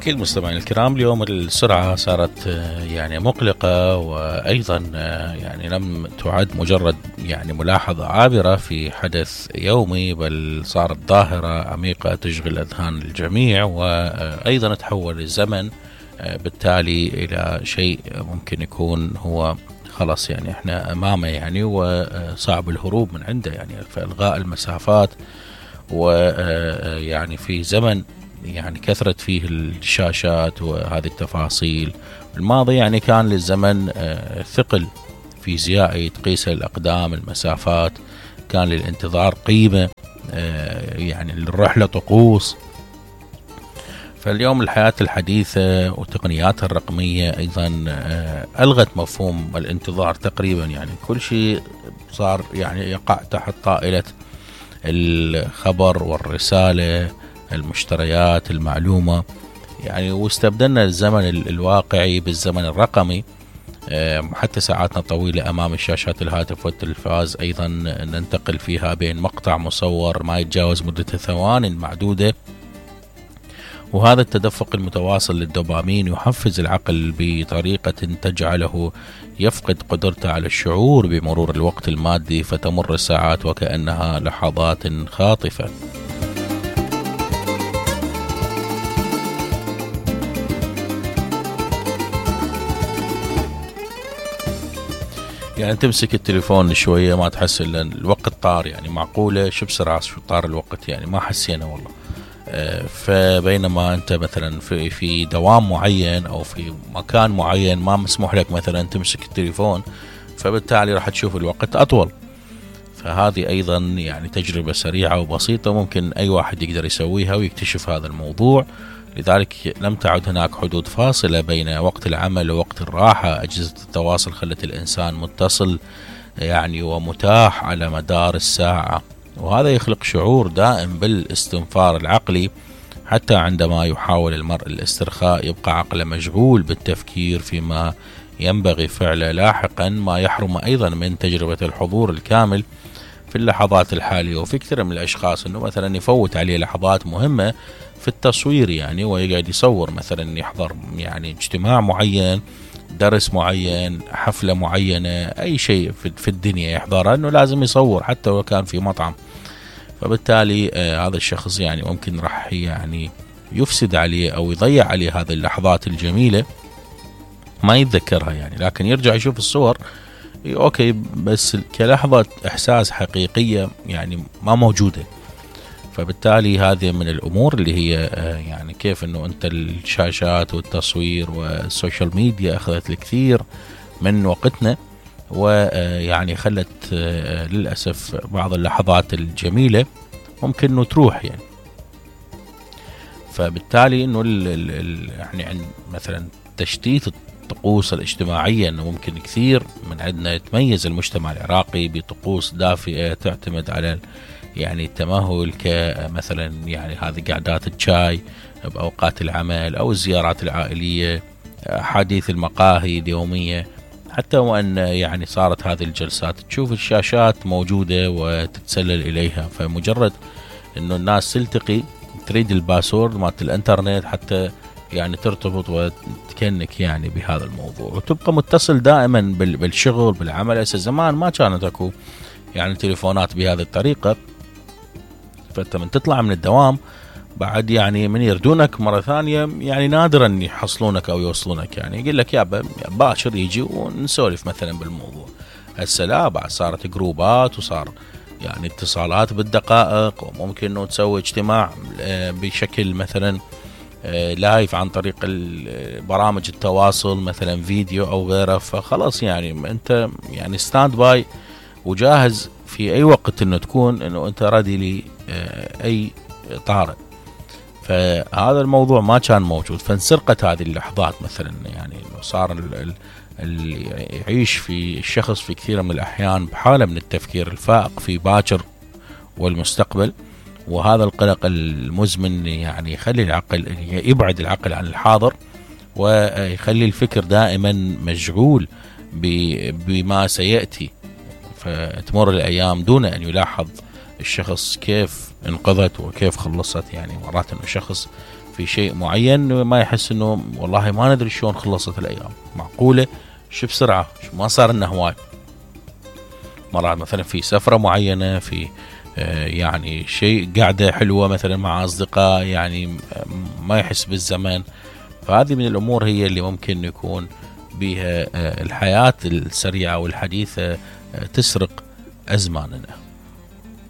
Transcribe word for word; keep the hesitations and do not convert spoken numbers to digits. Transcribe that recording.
أكيد مستمعين الكرام، اليوم السرعة صارت يعني مقلقة، وأيضا يعني لم تعد مجرد يعني ملاحظة عابرة في حدث يومي، بل صارت ظاهرة عميقة تشغل أذهان الجميع، وأيضا تحول الزمن بالتالي إلى شيء ممكن يكون هو خلاص يعني احنا أمامه يعني وصعب الهروب من عنده، يعني فإلغاء المسافات. ويعني في زمن يعني كثرت فيه الشاشات وهذه التفاصيل، الماضي يعني كان للزمن ثقل فيزيائي تقيس الأقدام المسافات، كان للانتظار قيمة، يعني للرحلة طقوس. فاليوم الحياة الحديثة وتقنياتها الرقمية أيضا ألغت مفهوم الانتظار تقريبا، يعني كل شيء صار يعني يقع تحت طائلة الخبر والرسالة، المشتريات، المعلومة، يعني واستبدلنا الزمن الواقعي بالزمن الرقمي. حتى ساعاتنا طويلة أمام الشاشات الهاتف والتلفاز أيضا ننتقل فيها بين مقطع مصور ما يتجاوز مدة ثوان معدودة، وهذا التدفق المتواصل للدوبامين يحفز العقل بطريقة تجعله يفقد قدرته على الشعور بمرور الوقت المادي، فتمر الساعات وكأنها لحظات خاطفة. يعني تمسك التليفون شوية ما تحس إلا الوقت طار، يعني معقولة شو بسرعة شو طار الوقت، يعني ما حسينا والله. فبينما أنت مثلا في في دوام معين أو في مكان معين ما مسموح لك مثلا تمسك التليفون، فبالتالي راح تشوف الوقت أطول. فهذه أيضا يعني تجربة سريعة وبسيطة ممكن أي واحد يقدر يسويها ويكتشف هذا الموضوع. لذلك لم تعد هناك حدود فاصلة بين وقت العمل ووقت الراحة. أجهزة التواصل خلت الإنسان متصل يعني ومتاح على مدار الساعة، وهذا يخلق شعور دائم بالاستنفار العقلي، حتى عندما يحاول المرء الاسترخاء يبقى عقله مشغول بالتفكير فيما ينبغي فعله لاحقا، ما يحرم أيضا من تجربة الحضور الكامل في اللحظات الحالية. وفي كثير من الأشخاص أنه مثلا يفوت عليه لحظات مهمة في التصوير، يعني ويقعد يصور مثلا يحضر يعني اجتماع معين، درس معين، حفلة معينة، أي شيء في الدنيا يحضرها أنه لازم يصور حتى لو كان في مطعم. فبالتالي آه هذا الشخص يعني ممكن راح يعني يفسد عليه أو يضيع عليه هذه اللحظات الجميلة، ما يتذكرها يعني، لكن يرجع يشوف الصور أوكي بس كلحظة إحساس حقيقية يعني ما موجودة. فبالتالي هذه من الأمور اللي هي آه يعني كيف أنه أنت الشاشات والتصوير والسوشيال ميديا أخذت الكثير من وقتنا، ويعني خلت للأسف بعض اللحظات الجميلة ممكن أنه تروح يعني. فبالتالي أنه يعني عند مثلا تشتيت الطقوس الاجتماعية، أنه ممكن كثير من عندنا يتميز المجتمع العراقي بطقوس دافئة تعتمد على يعني التمهل، كمثلا يعني هذه قعدات الشاي بأوقات العمل أو الزيارات العائلية، حديث المقاهي اليومية، حتى وأن يعني صارت هذه الجلسات تشوف الشاشات موجودة وتتسلل إليها. فمجرد أنه الناس تلتقي تريد الباسورد مالت الانترنت حتى يعني ترتبط وتكنك يعني بهذا الموضوع، وتبقى متصل دائما بالشغل بالعمل. هسه زمان ما كانت اكو يعني تليفونات بهذه الطريقة، فأنت من تطلع من الدوام بعد يعني من يردونك مرة ثانية يعني نادرا يحصلونك أو يوصلونك، يعني يقول لك يا باشر يجي ونسولف مثلا بالموضوع. هسه لا، بعد صارت جروبات وصار يعني اتصالات بالدقائق، وممكن انه تسوي اجتماع بشكل مثلا لايف عن طريق برامج التواصل مثلا فيديو او غيره. فخلاص يعني انت يعني ستاند باي وجاهز في اي وقت انه تكون انه انت رادي لي اي طارئ. فهذا الموضوع ما كان موجود، فانسرقت هذه اللحظات مثلا، يعني صار اللي يعيش في الشخص في كثير من الأحيان بحالة من التفكير الفائق في باكر والمستقبل، وهذا القلق المزمن يعني يخلي العقل يبعد العقل عن الحاضر، ويخلي الفكر دائما مشغول بما سيأتي. فتمر الأيام دون أن يلاحظ الشخص كيف انقذت وكيف خلصت. يعني مرات انه شخص في شيء معين ما يحس انه والله ما ندري شلون خلصت الايام، معقولة شو بسرعة ما صار لنا هواي. مرات مثلا في سفرة معينة، في يعني شيء قاعدة حلوة مثلا مع أصدقاء، يعني ما يحس بالزمن. فهذه من الأمور هي اللي ممكن يكون بها الحياة السريعة والحديثة تسرق أزماننا.